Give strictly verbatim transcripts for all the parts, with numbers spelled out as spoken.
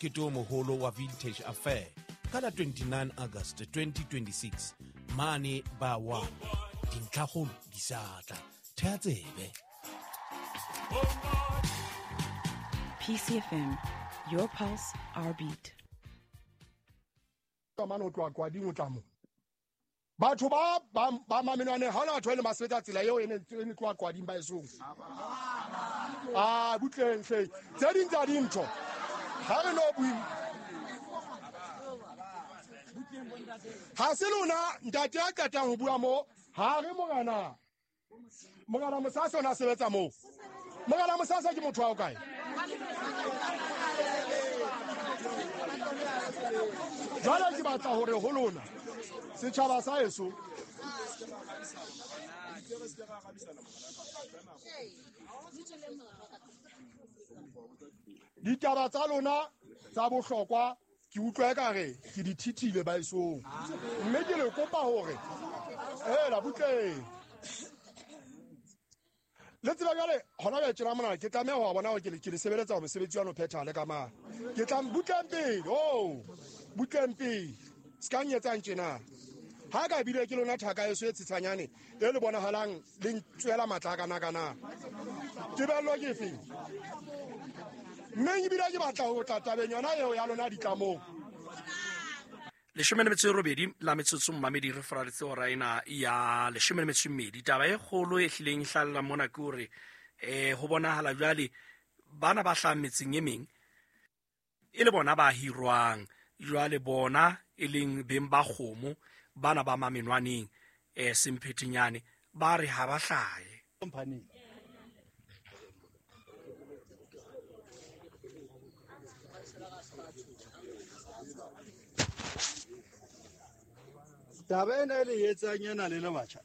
Mokete o moholo wa Vintage Affair ka la twenty-nine August twenty twenty-six mane ba wa dintlhakgolo di sa tla. Thea tsebe. P C F M, your pulse, our beat. Mane o tloha Kwading o tla mo. Batho ba ba ba mamenwane ha hona batho ba ileng ba sebetsa tsela eo e ne e ne tloha Kwading ba esong. Ah, butleng hle. Tse ding tsa dintho. Ha re no bue. Ha se lona ntate a qetang ho bua mo, ha re morena. Morena Mosasa o na sebetsa moo. Morena Mosasa ke motho wa kae? Jwale ke batla hore ho lona setjhaba sa heso ditaba tsa lona tsa bohlokwa ke utlwa ekare ke di thithile ba esong, mme ke le kopa hore hela butleng le tseba jwale hona jwale tjena mona ke tlameha ho bona hore ke le ke le sebeletsa hore mosebetsi wa no phethahale ka mang. Ke tla butleng pele, oh butleng pele se ka nyetsang tjena. Ha ka bile ke lona thaka eso e tshitshanyane e le bonahalang le ntswela matla kana kana. Tebello ke efe? Mme ebile ke batla ho tla tabeng yona eo ya lona ditlamong. Leshome le metso e robedi la metsotso mmamedi re faraletse hora ena ya leshome le metso e mmedi. Taba e kgolo e hlileng e hlalla mona ke hore eh ho bonahala jwale bana ba hlahang metseng e meng e le bona ba hirwang, jwale bona e leng beng ba kgomo bana ba mamenwaneng eh semphetenyane ba re ha ba hlahe. Company taba ena e le etsang ena le le batjha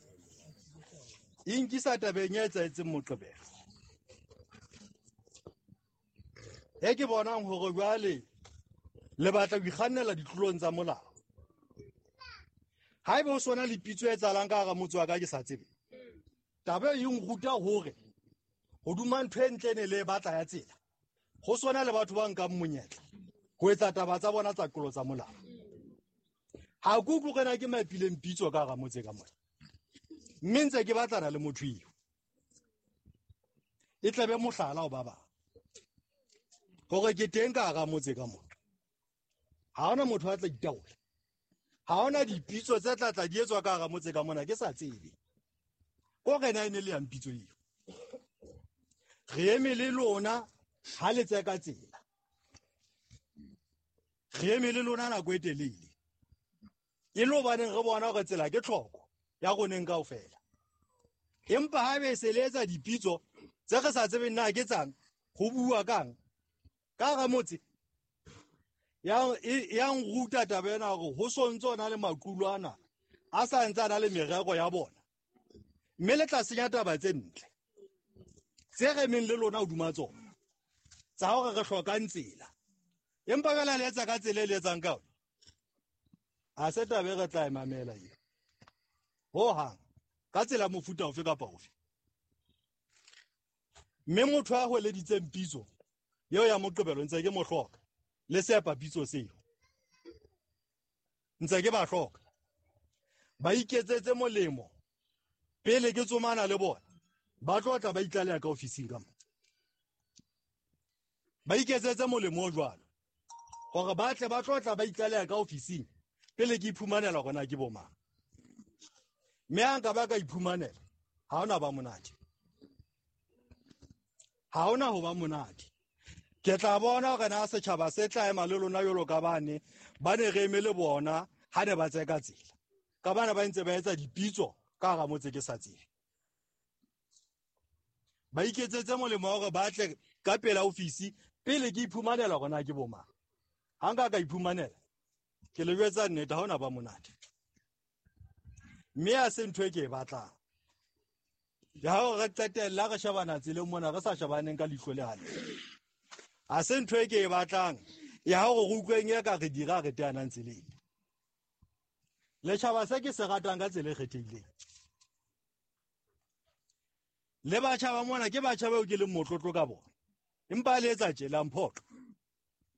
e nkisa tabeng e etsahetseng Moqebelo e ke bonang hore jwale le batla ho ikgannela ditlolong tsa molao. Haeba ho sona le pitso e etsahalang ka hara motse wa ka ke sa tsebe, taba e nruta hore hoduma ntho e ntle ne le batla ya tsela ho sona le batho ba nkang monyetla ho etsa taba tsa bona tsa tlolo tsa molao. Ha ke utlwe hore na ke mapileng pitso ka hara motse ka mona, mme ntse ke batlana le motho eo e tlabe mohlala ho ba bang hore ke teng ka hara motse ka mona. Ha hona motho a tla itaola, ha hona dipitso tse tla tla di etswa ka hara motse ka mona ke sa tsebe ko re na e ne le yang pitso eo. Re eme le lona ha le tseka tsela, re eme le lona nako e telele e le hobaneng re bona hore tsela ke tlhoko ya roneng kaofela. Empa ha be se le etsa dipitso tse re sa tsebeng na ke tsang ho bua kang ka hara motse ya ya nruta taba ena hore ho sontso ona le maqulo ana a sa ntse a na le merero ya bona, mme le tla senya taba tse ntle tse re meng le lona hoduma tsona tsa hore re hlokang tsela, empa jwale le etsa ka tsela e le etsang ka yona a se taba e re tla e mamela eo hohang ka tsela mofuta ofe kapa ofe. Mme motho a hweleditseng pitso eo ya Moqebelo ntse ke mo hloka le sepa pitso seo ntse ke ba hloka ba iketsetse molemo pele ke tsomana le bona ba tlo tla ba itlaleha ka ofising ka mo ba iketsetse molemo o jwalo hore ba tle ba tlo tla ba itlaleha ka ofising pele ke iphumanela hore na ke bo mang. Mme ha nka ba ka iphumanela ha hona ba monate, ha hona ho ba monate. Ke tla bona hore na setjhaba se tla ema le lona jwalo ka bane ba ne re eme le bona ha ne ba tseka tsela ka bana ba ntse ba etsa dipitso ka hara motse ke sa tsebe. Ba iketsetse molemo hore ba tle ka pela ofisi pele ke iphumanela hore na ke bo mang. Ha nka ka iphumanela ke le jwetsa nnete ha hona ba monate, mme ha se ntho e ke e batlang ya hore re qetella re shebana tseleng mona re sa shebaneng ka leihlo le hantle. Ha se ntho e ke e batlang ya hore re utlweng e ka re dira re teanang tseleng. Letjhaba se ke se ratang ka tsela e kgethehileng le batjha ba mona ke batjha bao ke leng motlotlo ka bona, empa le etsa tjela mphoqo.